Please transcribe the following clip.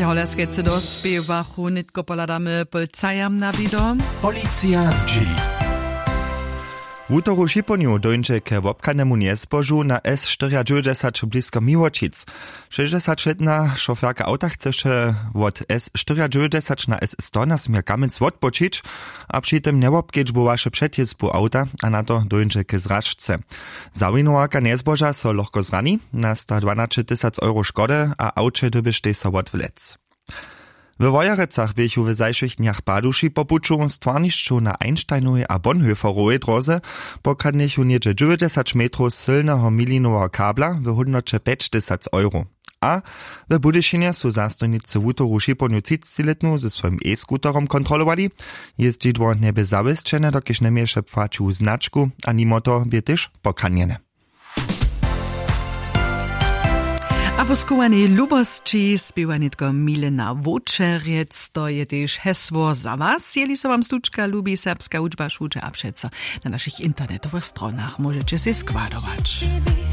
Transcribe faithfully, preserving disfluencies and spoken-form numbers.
Holjaskejcy dospěwachu nětko pohladamy pól cajam na wido. Policija zdźěli. Wutoru šiponju dóńdźe ke wobchanemu njezbožu na s štyriadźewjećdźesać blisko miłočic. Šěsćdźesaćlětna šoferka awta chceše wot s štyriadźewjećdźesać na s sto na směr kamjenc wotpočić, a při tym njewobkedźbowaše přetjězbu awta a na to dóńdźe k zražce. Zawinuwarka njezboža so lochko zrani, nasta dwanaće tysac euro škody a awće dyrbještej so wotwlec. We wojerecach běchu w zašłych dnjach paduši po puću stwarnišćow na einsteinowej a bonhoefferowej dróze pokradnychu něhdźe dźewjećdźesać metrow sylneho milinoweho kabla w hódnoće pjećtysac euro. A w budyšinje su zastojnicy wutoru šiponju třicećilětnu ze swojim e-skuterom kontrolowali. Jězdźidło njebě zawěsćene dokelž njeměješe płaćiwu značku, a nimo toho bě tež pokranjene. A po schowanej lubosći spěwa nětko milena wočerjec, to je tež hesło za was. Jeli so wam slučka lubi serbska hudźba šuće a přeco na našich internetowych stronach móžeće sej składować.